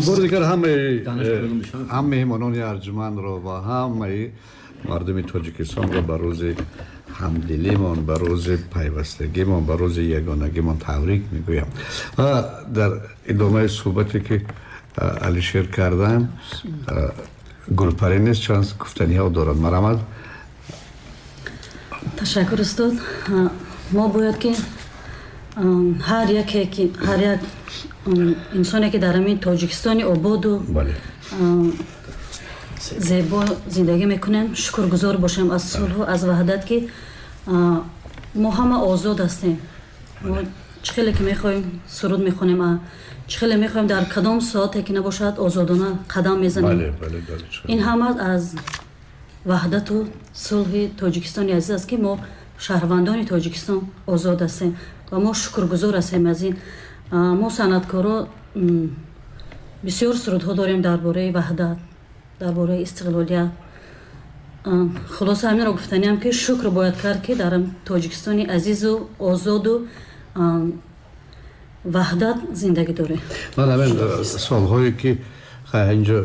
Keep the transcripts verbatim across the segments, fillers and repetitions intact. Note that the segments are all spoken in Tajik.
Бори дигар ҳамаи ҳам меҳмонони арҷумандро ва ҳамаи мардуми Тоҷикистонро ба рӯзи ҳамдилимон, ба рӯзи пайвастагимон, ба рӯзи ягонагимон табрик мегӯям. Ва дар идомаи суҳбате ки Алишер карданд, Гулпарӣ низ чанд гуфтаниҳо дорад. Марҳамат. Ташаккур, устод. Мо бояд ки ҳар яке ки ҳар як инсоне ки дар ҳамин Тоҷикистони ободу зебо зиндагӣ мекунем, шукргузор бошем аз сулҳу аз ваҳдат, ки мо ҳама озод ҳастем. Мо чӣ хеле ки мехоҳем суруд мехонем, чӣ хеле мехоҳем дар кадом соате ки набошад озодона қадам мезанем. Ин ҳама аз ваҳдату сулҳи Тоҷикистони азиз аст, ки мо шаҳрвандони Тоҷикистон озод ҳастем ва мо шукргузор ҳастем аз ин. Мо санъаткоро бисёр сурудҳо дорем дар бораи ваҳдат, дар бораи истиқлолият. Хулоса, ҳаминро гуфтаниам, ки шукр бояд кард, ки дар Тоҷикистони азизу озоду ваҳдат зиндагӣ дорем. Ман ҳамин солҳое ки инҷо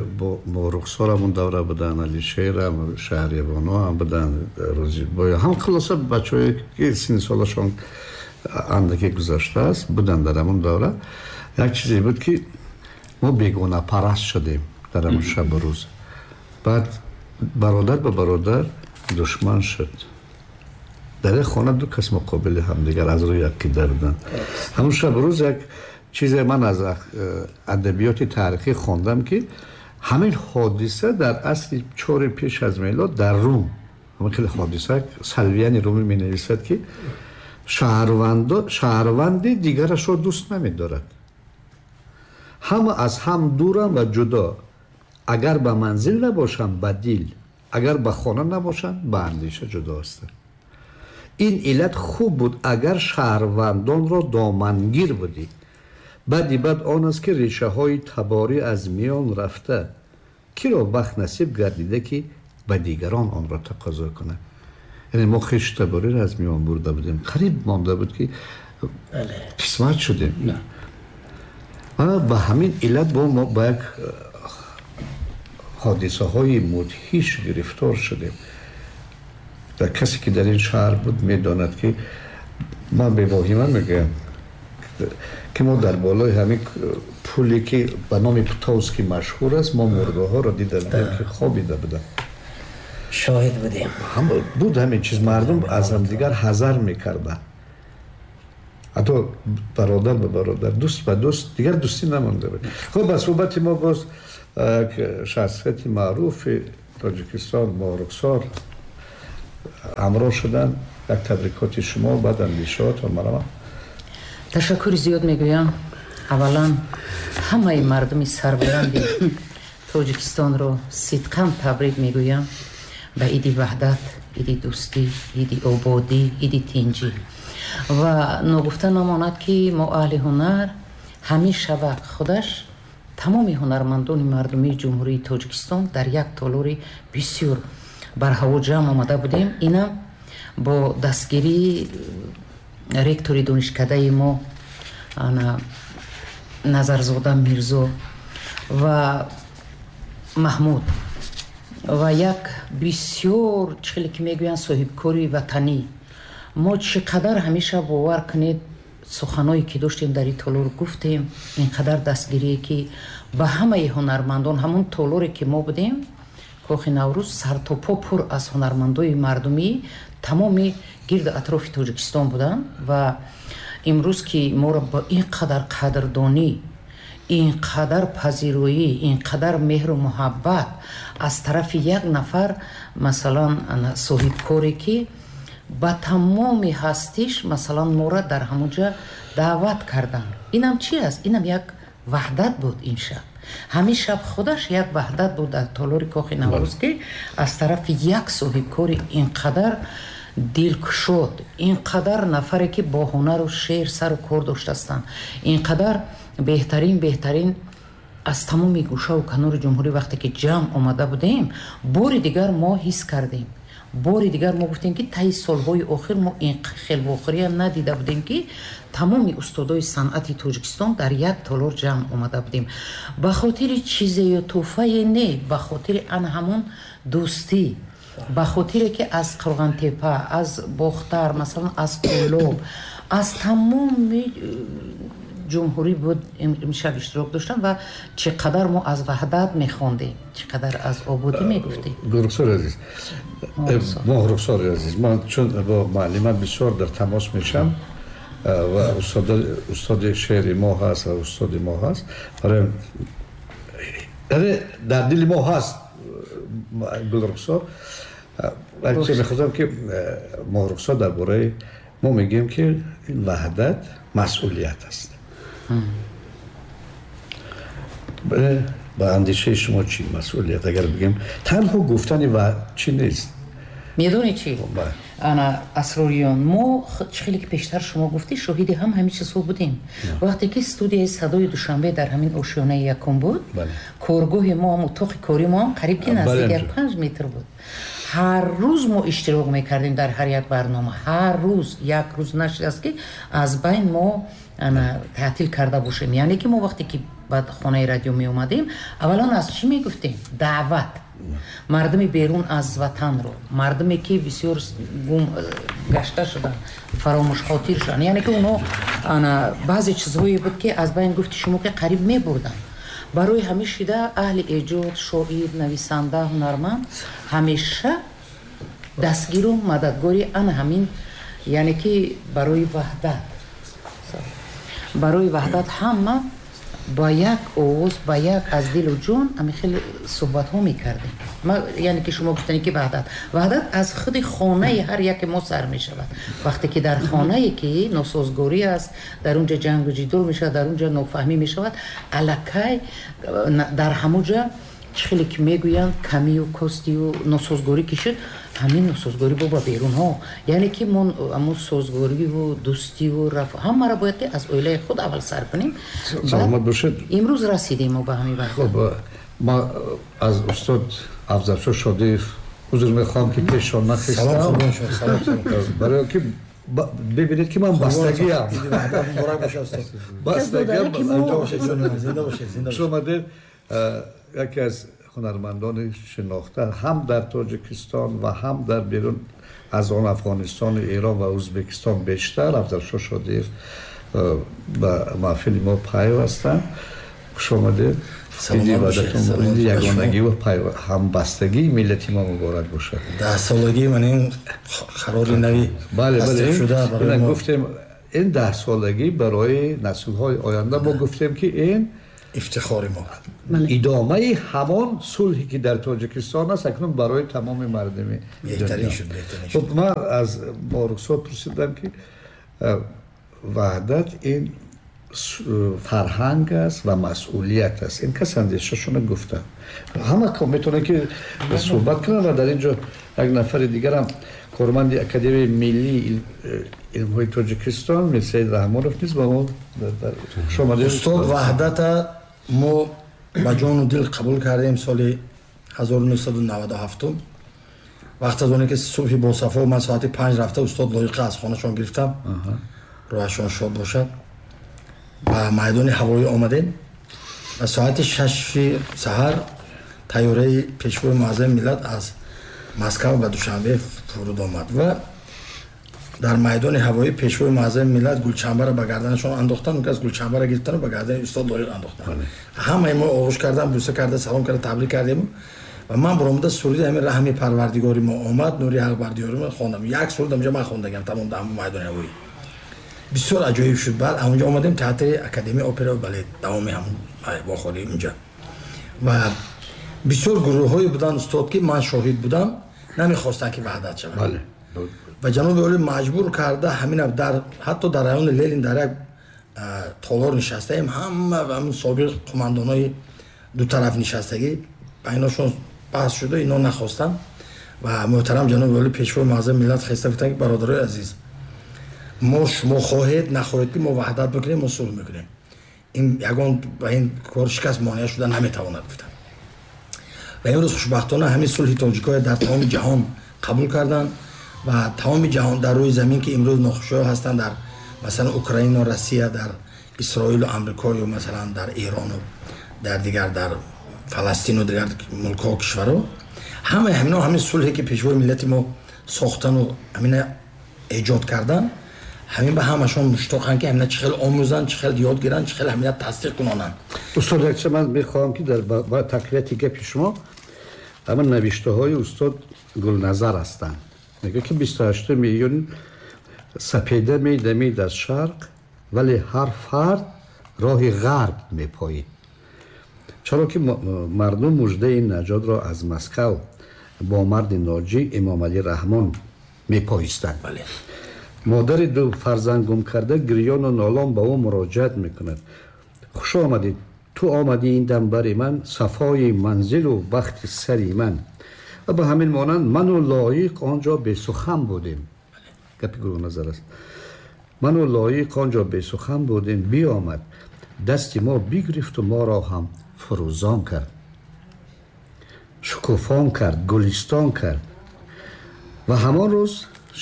бо Рухсорам давра буданд, Алишерам, Шаҳрибоно ҳам буданд, Рӯзибой ҳам, хулоса бачаҳое ки синни солашон андаке гузаштааст буданд дар ҳамон давра. Як чизе буд, ки мо бегонапараст шудем дар ҳамон шабу рӯз. Баъд бародар ба бародар душман шуд. Дар як хона ду кас муқобили ҳамдигар аз рӯи ақида буданд. Ҳамон шабу рӯз як чизе ман аз адабиёти таърихӣ хондам, ки ҳамин ҳодиса дар асри чори пеш аз мелод дар Рум, ҳамин хеле ҳодиса Салвияни Румӣ менависад, ки шаҳрванди дигарашро дӯст намедорад, ҳама аз ҳам дурам ва ҷудо, агар ба манзил набошанд ба дил, агар ба хона набошанд ба андеша ҷудо ҳастанд. Ин иллат хуб буд, агар шаҳрвандонро домангир будӣ. Баъди бад он аст, ки решаҳои таборӣ аз миён рафта, киро бахт насиб гардида, ки ба дигарон онро тақозо кунад. Яъне мо хешу табориро аз миён бурда будем, қариб монда буд, ки қисмат шудем. Ва ба ҳамин иллат бо мо ба як ҳодисаҳои мудҳиш гирифтор шудем. Дар касе ки дар ин шаҳр буд, медонад, ки ман бевоҳима мегӯям, ки мо дар болои ҳамин пуле ки ба номи Птовский машҳур аст, мо мурдаҳоро дида будем, ки хобида буданд. Шоҳид будем. Буд ҳамин чиз, мардум аз ҳамдигар ҳазар мекарданд, ҳатто бародар ба бародар, дӯст ба дӯст, дигар дӯстӣ намонда буд. Хуб, ба суҳбати мо боз як шахсияти маъруфи Тоҷикистон, Моҳрухсор, ҳамроҳ шуданд. Як табрикоти шумо, баъд андешаҳотон. Марҳамат. Ташаккури зиёд мегӯям. Аввалан ҳамаи мардуми сарбаланди Тоҷикистонро сидқан табрик мегӯям ба иди ваҳдат, иди дӯстӣ, иди ободӣ, иди тинҷӣ. Ва ногуфта намонад, ки мо аҳли ҳунар ҳамин шава худаш тамоми ҳунармандони мардумии Ҷумҳурии Тоҷикистон дар як толори бисёр барҳаво ҷамъ омада будем. Инам бо дастгирии ректори донишкадаи мо ана Назарзода Мирзо ва Маҳмуд ва як бисёр, чӣ хеле ки мегӯянд, соҳибкори ватанӣ. Мо чӣ қадар ҳамеша, бовар кунед, суханое ки доштем дар ин толор гуфтем, ин қадар дастгирие ки ба ҳамаи ҳунармандон. Ҳамон толоре ки мо будем, Кохи Наврӯз, сартопо пур аз ҳунармандои мардумӣ тамоми гирду атрофи Тоҷикистон буданд. Ва имрӯз ки моро ба ин қадар қадрдонӣ, ин қадар пазироӣ, ин қадар меҳру муҳаббат аз тарафи як нафар, масалан, соҳибкоре ки ба тамоми ҳастиш, масалан, моро дар ҳамонҷа даъват карданд, инам чи аст? Инам як ваҳдат буд ин шаб. Ҳамин шаб худаш як ваҳдат буд дар толори Кохи Наврӯз, ки аз тарафи як соҳибкори ин қадар дилкушод, ин қадар нафаре ки бо ҳунару шеър сару кор доштастанд, ин қадар беҳтарин беҳтарин аз тамоми гӯшаву канори ҷумҳурӣ вақте ки ҷамъ омада будем, бори дигар мо ҳис кардем, Бори дигар мо гуфтем, ки таи солҳои охир мо ин хел вохӯриям надида будем, ки тамоми устодои санъати Тоҷикистон дар як толор ҷамъ омада будем. Ба хотири чизе ё тӯҳфае не, ба хотири ан ҳамон дӯстӣ, ба хотире ки аз Қурғонтепа, аз Бохтар, масалан аз Кӯлоб, аз тамоми ҷумҳурӣ буд имшаб иштирок доштам ва чӣ қадар мо аз ваҳдат мехондем, чӣ қадар аз ободӣ мегуфтем. Гулрухсори азиз, Моҳрухсори азиз, ман чун бо муаллима бисёр дар тамос мешам ва устоди шеъри мо ҳаст ва устоди мо ҳаст, барои яъне дар дили мо ҳаст Гулрухсор. Вале чӣ мехостам ки Моҳрухсор дар бораи мо мегӯем, ки ин ваҳдат масъулият аст. Ба андешаи шумо чӣ масъулият? Агар бигем танҳо гуфтани ва чӣ нест. Медонӣ чӣ? Ана Асрориён, мо чӣ хеле ки пештар шумо гуфтӣ, шоҳиди ҳам ҳамин чизҳо будем. Вақте ки студияи садои Душанбе дар ҳамин ошёнаи якум буд, коргоҳи мо ҳам, утоқи кори мо ҳам қариб ки наздик як панҷ метр буд. Ҳар рӯз мо иштирок мекардем дар ҳар як барнома. Ҳар рӯз, як рӯз нашудааст, ки аз байн мо таътил карда бошем. Яъне ки мо вақте ки ба хонаи радио меомадем, аввалан аз чӣ мегуфтем? Даъват. Мардуми берун аз ватанро, мардуме ки бисёр гум гашта шуданд, фаромӯшхотир шуданд. Яъне ки онҳо баъзе чизҳое буд, ки аз байн гуфти шумо ки қариб мебурданд. Барои ҳамин шида аҳли эҷод, шоир, нависанда, ҳунарманд ҳамеша дастгиру мададгори ана ҳамин, яъне ки барои ваҳдат, барои ваҳдат ҳама ба як овоз, ба як аз дилу ҷон ҳамин хеле суҳбатҳо мекардем. Яъне ки шумо гуфтани ки ваҳдат, ваҳдат аз худи хонаи ҳар яке мо сар мешавад. Вақте ки дар хонае ки носозгорӣ аст, дар онҷа ҷангу ҷидол мешавад, дар онҷа нофаҳмӣ мешавад, аллакай дар ҳамонҷа чӣ хеле ки мегӯянд камию костию носозгорӣ ки шуд, ҳамин носозгорӣ бо ба берунҳо. Яъне ки мо ҳамон созгориву дӯстиву раф ҳамаро бояд ки аз оилаи худ аввал сар кунем. Саломат бошед. Имрӯз расидем мо ба ҳамин вақт. Хуб, ма аз устод Афзалшо Шодиев узр мехоҳам, ки пешон нахистам. Барои ки бибинед, ки ман бастагиам. Бастагиам. Хуш омадед. Яке аз ҳунармандони шинохта ҳам дар Тоҷикистон ва ҳам дар берун аз он Афғонистон, Эрон ва Ӯзбекистон бештар Афзалшо Шодиев ба маҳфили мо пайвастанд. Хуш омадед. Иди ваҳдатон, иди ягонагӣ ва ҳамбастагии миллати мо муборак бошад. Даҳсолагии ман ин қарори нави тасдиқ шуда барои мо. Гуфтем ин даҳсолагӣ барои наслҳои оянда, мо гуфтем, ки ин ифтихори мо, идомаи ҳамон сулҳе ки дар Тоҷикистон аст, акнун барои тамоми мардуми беҳтарин шуд, беҳтарин шуд. Хуб, ман аз Моҳрухсор пурсидам, ки ваҳдат ин фарҳанг аст ва масъулият аст. Ин кас андешашонро гуфтанд. Ҳама метавонанд ки суҳбат кунанд ва дар ин ҷо як нафари дигарам, корманди Академияи миллии илмҳои Тоҷикистон Мирсаид Раҳмонов низ ба мо хуш омадед. Устод, ваҳдата мо ба ҷону дил қабул кардем соли ҳазору нӯҳсаду наваду ҳафтум. Вақт аз оне ки субҳи босафо ман соати панҷ рафта устод Лоиқа аз хонашон гирифтам, роҳашон шод бошад, ба майдони ҳавоӣ омадем ва соати шаши саҳар тайёраи пешвои муаззами миллат аз Москва ба Душанбе фуруд омад ва дар майдони ҳавоӣ пешвои муаззами миллат гулчанбаро ба гарданашон андохтанд, он кас гулчанбаро гирифтану ба гардани устод Лоиқ андохтанд. Ҳамаи мо оғӯш кардан, бӯса карда, салом карда, табрик кардем ва ман баромада суруди ҳамин раҳми парвардигори мо омад, нури ҳақ бар диёри мо хондам. Як суруд ҳамҷа ман хондагам тамом дар ҳамон майдони ҳавоӣ. Бисёр аҷоиб шуд. Баъд ҳамонҷа омадем театри Академияи опера ва балет, давоми ҳамон вохӯрӣ унҷа. Ва бисёр гурӯҳҳое буданд устод, ки ман шоҳид будам, намехостанд ки ваҳдат шавад. Ва ҷаноби олӣ маҷбур карда ҳамин дар ҳатто дар райони Ленин дар як толор нишастаем, ҳама ҳамон собиқ қумандонои ду тараф нишастагӣ, байношон баҳс шуда, ино нахостанд ва муҳтарам ҷаноби олӣ пешвои муаззами миллат хеста гуфтанд, ки бародарои азиз, мо шумо хоҳед нахоҳед ки мо ваҳдат мекунем, мо сулҳ мекунем, ин ягон ба ин кор шикаст монеа шуда наметавонад, гуфтанд. Ва имрӯз хушбахтона ҳамин сулҳи тоҷикҳоя дар тамоми ҷаҳон қабул карданд ва тамоми ҷаҳон дар рӯи замин ки имрӯз нохушиҳо ҳастанд дар масалан Украина, Россия, дар Исроил ва Амрико ё масалан дар Эрон ва дар дигар дар Фаластин ва дигар мулкҳо кишварҳо, ҳамаи ҳамино ҳамин сулҳе ки пешвои миллати мо сохтан ва ҳамина эҷод кардан, ҳамин ба ҳамашон муштоқанд ки ҳамина чӣ хел омӯзанд, чӣ хел ёд гиранд, чӣ хел ҳамина тасдиқ кунонанд. Устод, якча ман мехоҳам ки дар ба тақвияти гапи шумо ҳамин навиштаҳои устод Гулназар ҳастанд. Мегӯяд ки бисту ҳаштуми июн сапеда медамид аз шарқ, вале ҳар фард роҳи ғарб мепоид. Чаро ки мардум муждаи наҷотро аз Москав бо марди ноҷӣ Эмомалӣ Раҳмон мепоистанд. Бале. Модари ду фарзанд гум карда гирёну нолон ба ӯ муроҷиат мекунад. Хуш омадӣ, ту омадӣ ин дам бари ман, сафои манзилу бахти сари ман. Ва ба ҳамин монанд ману лоиқ он ҷо бесухан будем. Гапи Гулназар аст. Ману лоиқ он ҷо бесухан будем, биомад, дасти мо бигирифту моро ҳам фурӯзон кард, шукуфон кард, гулистон кард. Ва ҳамон рӯз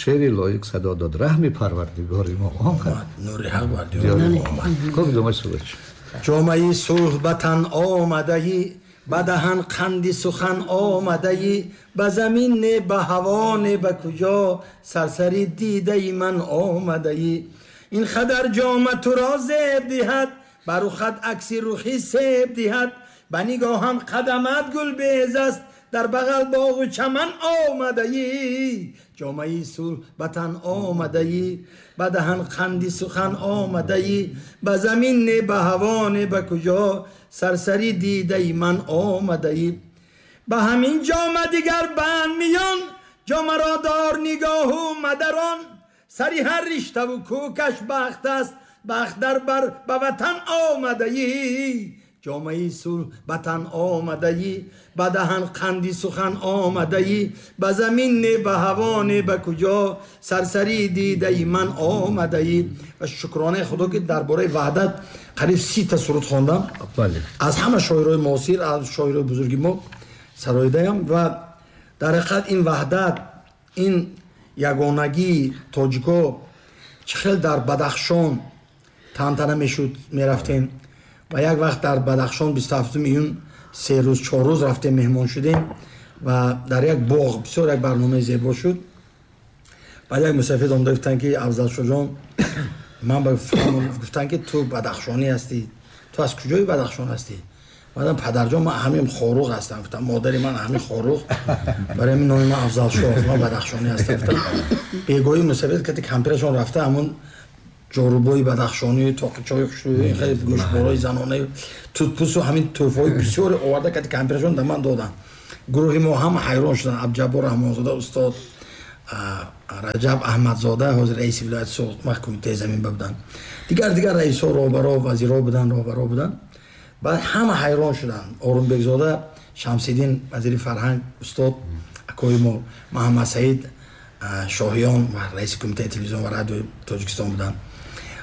шеъри лоиқ садо дод: раҳми парвардигори мо омад, нури ҳақ бар диёри мо омад. Хуб, идомаи суҳбат. ҷомаи сулҳ ба тан омадаӣ, ба даҳан қанди сухан омадаӣ, ба замин не, ба ҳаво не, ба куҷо сарсари дидаи ман омадаӣ. Ин қадар ҷома туро зеб диҳад, ба рухат акси рухи себ диҳад, ба нигоҳам қадамат гулбез аст, дар бағал боғу чаман омадаӣ. ҷомаи сулҳ ба тан омадаӣ, ба даҳан қанди сухан омадаӣ, ба замин не, ба ҳаво не, ба куҷо сарсари дидаи ман омадаӣ. Ба ҳамин ҷома дигар банд миён, ҷомаро дор нигоҳу мадарон, сари ҳар риштаву кӯкаш бахт аст, бахт дар бар ба ватан омадаӣ. ҷомаи сулҳ ба тан омадаӣ, ба даҳан қанди сухан омадаӣ, ба замин не, ба ҳаво не, ба куҷо сарсари дидаи ман омадаӣ. Ва шукронаи худо ки дар бораи ваҳдат қариб си та суруд хондам. Аз ҳама шоирои муосир, аз шоирои бузурги мо сароидаям. Ва дар ҳақиқат ин ваҳдат, ин ягонагии тоҷико чӣ хел дар Бадахшон тантана мешуд, мерафтем. Ва як вақт дар Бадахшон бисту ҳафтуми июн се рӯз чор рӯз рафтем, меҳмон шудем ва дар як боғ бисёр як барномаи зебо шуд. Баъд як мусафид омада гуфтанд ки Афзалшоҳҷон, ман ба гуфтанд ки ту бадахшонӣ ҳастӣ, ту аз куҷои Бадахшон ҳастӣ? Ман падарҷон, ман ҳамин Хоруғ ҳастам. Гуфтам модари ман ҳамин Хоруғ, барои ҳамин номи ман Афзалшоҳ, ман бадахшонӣ ҳастам. Гуфтам бегоҳӣ мусафид кати кампирашон рафта ҳамон ҷорубои бадахшонӣ, тоқичои хушрӯй, хеле гӯшборои занона, тутпӯсу ҳамин тӯҳфаҳои бисёре оварда кати кампирашон да ман доданд. Гурӯҳи мо ҳама ҳайрон шуданд. Абдуҷаббор Раҳмонзода устод, Раҷаб Аҳмадзода ҳозир раиси вилояти Суғд, вақт кумитаи замин буданд, дигар дигар раисҳо, роҳбаро, вазирҳо буданд, роҳбаро буданд. Баъд ҳама ҳайрон шуданд. Орунбекзода Шамсиддин вазири фарҳанг устод, акои мо Муҳаммадсаид Шоҳиён ва раиси кумитаи телевизион ва радиои Тоҷикистон буданд.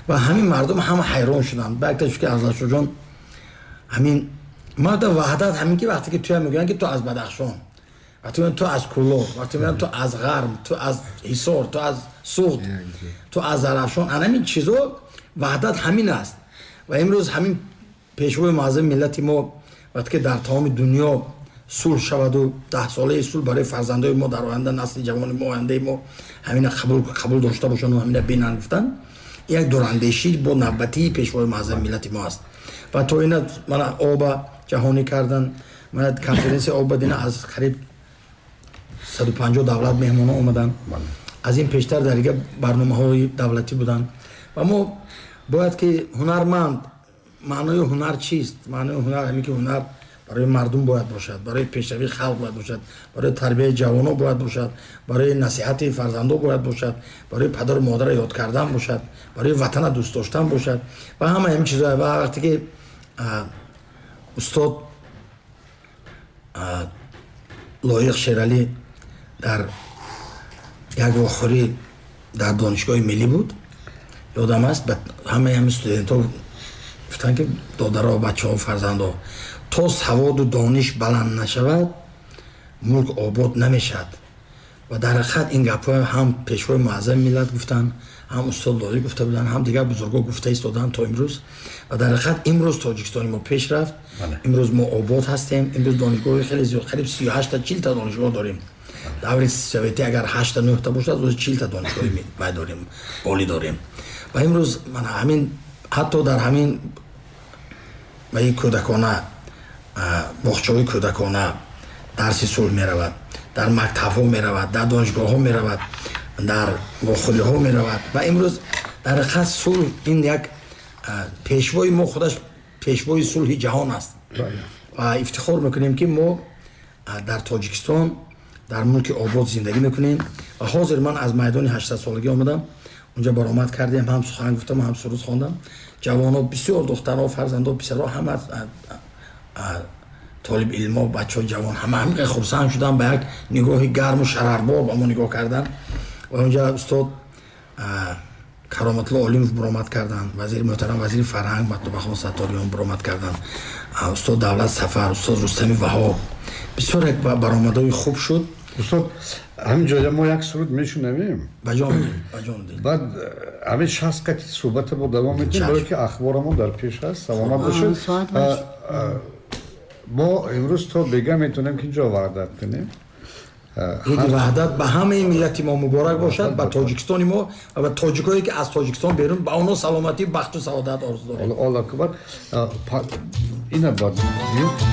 Ва ҳамин мардум ҳама ҳайрон шуданд. Ба якта шуд ки Афзалшоҳҷон ҳамин мада ваҳдат, ҳамин ки вақте ки туя мегӯянд ки ту аз Бадахшон, вақте мегӯянд ту аз Кӯлоб, вақте мегӯянд ту аз Ғарм, ту аз Ҳисор, ту аз Суғд, ту аз Зарафшон, ҳамин чизо ваҳдат ҳамин аст. Ва имрӯз ҳамин пешвои муаззами миллати мо вақте ки дар тамоми дунё сулҳ шаваду даҳсолаи сулҳ барои фарзандои мо дар оянда, насли ҷавони мо, ояндаи мо ҳамина қабул дошта бошанд ва ҳамина бинанд, гуфтанд як дурандешӣ бо навбатии пешвои муаззами миллати мо аст. Ва то ина мана оба ҷаҳонӣ кардан, мана конференсия оба дина аз қариб саду панҷоҳ давлат меҳмонҳо омаданд. Аз ин пештар дар дигар барномаҳои давлатӣ буданд. Ва мо бояд ки ҳунарманд, маънои ҳунар чист? Маънои ҳунар ҳамин ки ҳунар барои мардум бояд бошад, барои пешравии халқ бояд бошад, барои тарбияи ҷавонон бояд бошад, барои насиҳати фарзандон бояд бошад, барои падару модарро ёд кардан бошад, барои ватана дӯст доштан бошад ва ҳама ҳамин чизҳо. Ва вақте ки устод Лоиқ Шералӣ дар як вохӯрӣ дар донишгоҳи миллӣ буд, ёдам аст, ҳамаи ҳамин студентҳо гуфтанд ки додаро, бачаҳо, фарзандо, то саводу дониш баланд нашавад мулк обод намешавад. Ва дар ҳақиқат ин гапҳо ҳам пешвои муаззами миллат гуфтанд, ҳам устод Лоиқ гуфта буданд, ҳам дигар бузургҳо гуфта истоданд то имрӯз. Ва дар ҳақиқат имрӯз Тоҷикистони мо пеш рафт, имрӯз мо обод ҳастем, имрӯз донишгоҳи хеле зиёд, қариб сию ҳашта, чилта донишгоҳ дорем. Даври советӣ агар ҳашта, нӯҳта бошад, оз чилта донишгоҳи вай дорем, олӣ дорем. Ва имрӯз мана ҳамин, ҳатто дар ҳамин ваи кӯдакона, боғчаҳои кӯдакона дарси сулҳ меравад, дар мактабҳо меравад, дар донишгоҳҳо меравад, дар вохӯриҳо меравад. Ва имрӯз дар ҳақиқат сулҳ ин як пешвои мо худаш пешвои сулҳи ҷаҳон аст. Ва ифтихор мекунем, ки мо дар Тоҷикистон, дар мулки обод зиндагӣ мекунем. Ва ҳозир ман аз майдони ҳаштсадсолагӣ омадам, унҷа баромад кардем, ҳам сухан гуфтам, ҳам суруд хондам. Ҷавонҳо бисёр, духтарҳо, фарзандҳо, писарҳо, ҳама толиб илмо, бачаҳои ҷавон ҳама ҳамин хурсанд шуданд, ба як нигоҳи гарму шарарбор ба мо нигоҳ карданд. Ва унҷа устод Кароматулло Олимов баромад карданд, вазири муҳтарам, вазири фарҳанг Матлубахон Сатториён баромад карданд, устод Давлат Сафар, устод Рустами Ваҳоб. Бисёр як баромадҳои хуб шуд. Устод, ҳамин ҷоя мо як суруд мешунавем. Ба ҷон дил, ба ҷон дил. Баъд ҳамин шаст қати суҳбата бо давом медиҳем, барое ки ахборамон дар пеш аст. Саломат бошед. Мо имрӯз то бега метавонем ки инҷо ваҳдат кунем. Иди Ваҳдат ба ҳамаи миллати мо муборак бошад, ба Тоҷикистони мо ва ба тоҷикое ки аз Тоҷикистон берун, ба онҳо саломатӣ, бахту саодат орзу дорем. Аллоҳ акбар. Ина бад.